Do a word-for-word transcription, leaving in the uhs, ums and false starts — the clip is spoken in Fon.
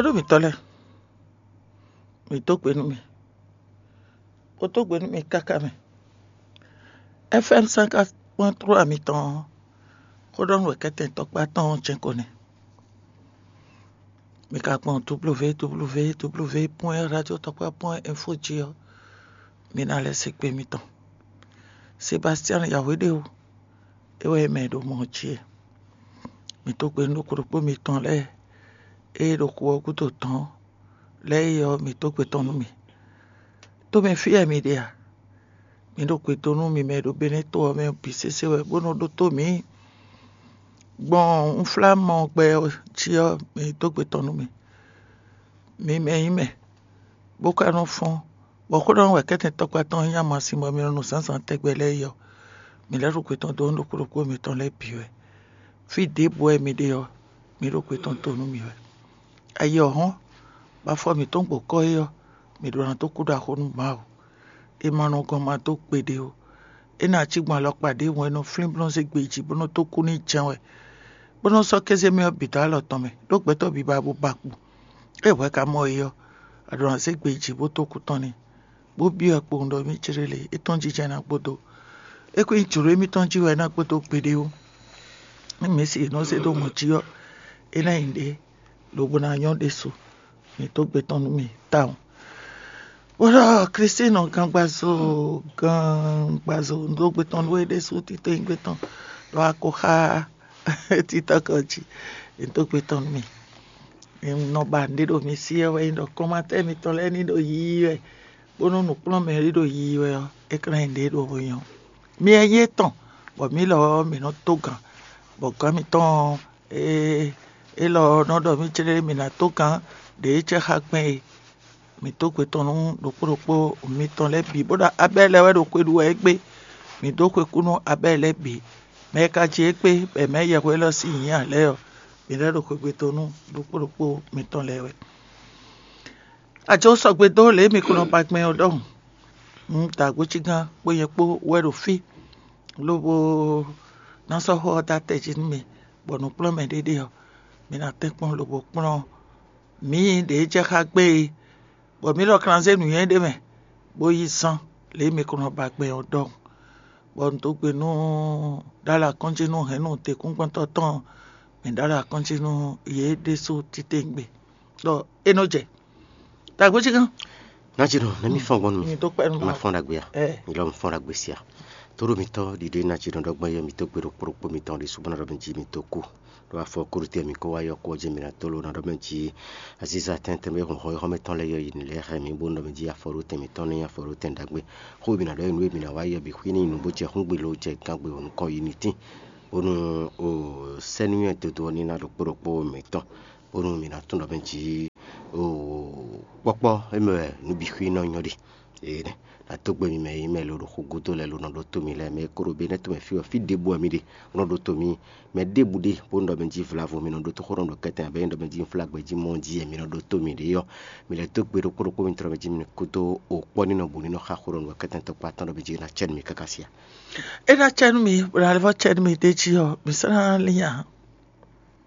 Ɖó mǐtɔn lɛ́ɛ, mǐ dó gbe nú mì, bó dó gbe nú mì káká mɛ. F M cinquante point trois mitɔn ɔ́, xó ɖɔ nú wɛ kɛ́tɛn tɔkpá tɔn ɔ́ jɛ́n ko nɛ́. Mi ka gbɔn www www point radio tɔkpá point info jí ɔ́, mi ná lɛ́ se kpe mitɔn. Sebastian Yahweh ɖe o, é wɛ mɛ e ɖo mɔ jí e. Mi dó gbe nú ɖokpó ɖokpó mitɔn lɛ́ɛ e ɖo xu ɔ́ gúdo tɔn lɛ́ɛ é ɔ́, mi dó gbe tɔn nú mì. Tómɛ fí wɛ mi ɖe a? Mi ɖo gbe dó nú mi mɛ e ɖo Benɛ́to ɔ́ mɛ bǐ sésé wɛ, bó nɔ ɖótó mǐ gbɔn unflámɔ gbɛ ɔ́ jí ɔ́, mi dó gbe tɔn nú mì. Mi mɛ nyí mɛ, bó ka nɔ fɔ́n, bɔ xó ɖɔ wɛ kɛ́tɛn tɔkpá tɔn nyí amasin bɔ mi nɔ nu zǎnzǎn tɛgbɛ lɛ́ɛ é ɔ́, mi lɛ́ ɖo gbe tɔn dó nú ɖokpó ɖokpó mitɔn lɛ́ɛ bǐ wɛ. Fí ɖěbǔ wɛ mi ɖe ɔ́, mi ɖo gbe tɔn to nú mì wɛ. Ayi ɔ́ hɔ́n, bɔ afɔ mǐtɔn gbɔ̌ kɔ́ é ɔ́, mǐ ɖó ná dó kú ɖo axo nú Mawu. È ma nɔ gɔn ma dó gbeɖé ó. É ná cí gbɔn alɔkpa ɖěbǔ e nɔ flín bó nɔ zé gbe yi jǐ bó nɔ dó kú n'i jɛ́n wɛ, bó nɔ́ sɔ́ kéze mɛ ɔ́ bǐ dó alɔ tɔn mɛ, ɖó gbɛtɔ́ bǐ ba bó ba kpo. É hwɛ̌ ka mɔ é ɔ́, a ɖǒ ná zé gbe yi jǐ bó dó kú tɔn n'i, bó byɔ́ ɛ kpowun ɖɔ émí jlé lě, é tɔ́n jijɛ ná gbódó. É kún nyí jlǒ émítɔn jí wɛ é ná gbódó gbeɖé ó. Nú mǐ si è nɔ zé dó mɔ jí ɔ́, é ná nyí ɖě lobo ná nyɔ́ ɖésú. Mǐ dó gbe tɔn nú mì tawun. Bó ɖɔ Klísu nɔ gangbazo gangbazo dó gbe tɔn nú é ɖésú titewungbe tɔn ɖo akoxá títɔ́ kɔ jí. Mǐ dó gbe tɔn nú mì. Nɔ ba nǔɖé ɖo mi sí ɔ́ wɛ nyí ɖɔ kɔnmatɛ́ mitɔn lɛ́ɛ ní ɖo yiyi wɛ, bónú nǔkplɔ́nmɛ e ɖo yiyi wɛ ɔ́, é ka ná nyí nǔɖé ɖo nyɔ. Mi wɛ nyí étɔn, bɔ mǐ lɔ ɔ́, mǐ nɔ tó gǎn, bɔ gǎn mitɔn ɔ́, é élɔ́ ɔ́ nɔ ɖɔ mì céɖéɖé mǐ ná tó gǎn ɖě e cɛ xá gbɛn é. Mǐ dó gbe tɔn nú ɖokpó ɖokpó mitɔn lɛ́ɛ bǐ, bó ɖɔ Abɛ́li lɛ́ɛ wɛ ɖo xwe ɖu wɛ égbé. Mǐ dó xwe kú nú Abɛ́li lɛ́ɛ bǐ. Mɛ e ka jí égbé bɔ è mɛ yɛhweɖɔ sín nyǐ ǎ lɛ́ɛ ɔ́, mǐ lɛ́ ɖo xwegbe dó nú ɖokpó ɖokpó mitɔn lɛ́ɛ wɛ. Ajo sɔgbe dó lě e mi ko nɔ ba gbɛn ɔ́ ɖɔhun. Un da agbócígán kpó nyɛ kpó wɛ ɖo fí, lobo ná sɔ́ xó ɔ́ dó atɛ jí nú mi, bɔ nǔkplɔ́nmɛ ɖé ɖe ɔ́, mi ná tɛ́nkpɔ́n lobo kplɔ́n mǐ ɖě jɛ xá gbé e, bɔ mǐ lɔ kan ná zé nǔnywɛ́ ɖé mɛ, bó yí zán lě e mi ko nɔ ba gbɛn ɔ́ ɖɔhun. Bɔ un dó gbe nú ɖó alɔ akɔ́njí nú hɛ̌nnu tɛ́nkpɔ́ntɔ́ tɔn, mǐ ɖó alɔ akɔ́njí nú yě ɖésú titewungbe, ɖɔ é nɔ jɛ. Dagbojígán. Nǎjínɔ, nɛ́ mì fɔ́n gbɔn nú mi. Mi tó kpɛ́ nú ma fɔ́n ɖagbe a? Ɛ. Mi lɔ mi fɔ́n ɖagbe sia. Tóɖó mitɔn ɖiɖe nǎjínɔ ɖɔgbɔn yɛ mi tó gbe ɖokpó ɖokpó mitɔn ɖi subɔ́ ná ɖɔ mi jí mi tó kú. Ɖo afɔ kúɖú tɛ́ mi kó wá yɔ kú ɔ́ jí mi ná tó ló ná ɖɔ mɛ jí aziza tɛntɛn bɛ hun xɔ xɔmɛ tɔn lɛ yɔ yi ni lɛ xɛ mi bó ná ɖɔ mɛ jí afɔ ɖó tɛn mi tɔn ní afɔ ɖó tɛn ɖagbe. Xó mi ná ɖɔ yi nú mi ná wá yɔ bi xwí ní nu bó jɛ hún gbe ló jɛ gán gbe nukɔn yi ní tín. Bónú o sɛ́núnywɛ dodo ɔ́ ní ná ɖokpó ɖokpó mitɔn. Bónú mi ná tún ɖɔ mɛ jí o kpɔ́kpɔ́ émɛ wɛ nǔ bǐ xwí nɔ nyɔ́ ɖe. Ee nɛ nǎ tó gbe mi mɛ e nyí mɛ lo ɖo xó gúdo lɛ́ɛ lo nɔ ɖótó mi lɛ́ɛ, mɛ e ko ɖo Benɛ́to mɛ fí ɔ́, fí ɖěbǔ wɛ mi ɖe, bó nɔ ɖótó mi. Mɛ ɖěbǔ ɖe bónú ɖɔ mɛ jí vlavo mi nɔ ɖótó xó nɔ ɖo kɛ́tɛn abɛ́ nyí ɖɔ mɛ jí un flá gbɛ jí mɔ jí wɛ mi nɔ ɖótó mi ɖe ɔ́, mi lɛ́ dó gbe ɖokpó ɖokpó mi tlɔ mɛ jí mi kúdó o kpɔ́ ní nɔ bǔ ní nɔ xa xó ɖɔ nǔ kɛ́tɛn tɔkpá tɔn ɖɔ mɛ jí ná cɛ nú mi káká sia. É ná cɛ nú mi, bó ná lɛ́ vɔ́ cɛ nú mi d'é jí ɔ́, mi sɔ́ ná lín ǎ.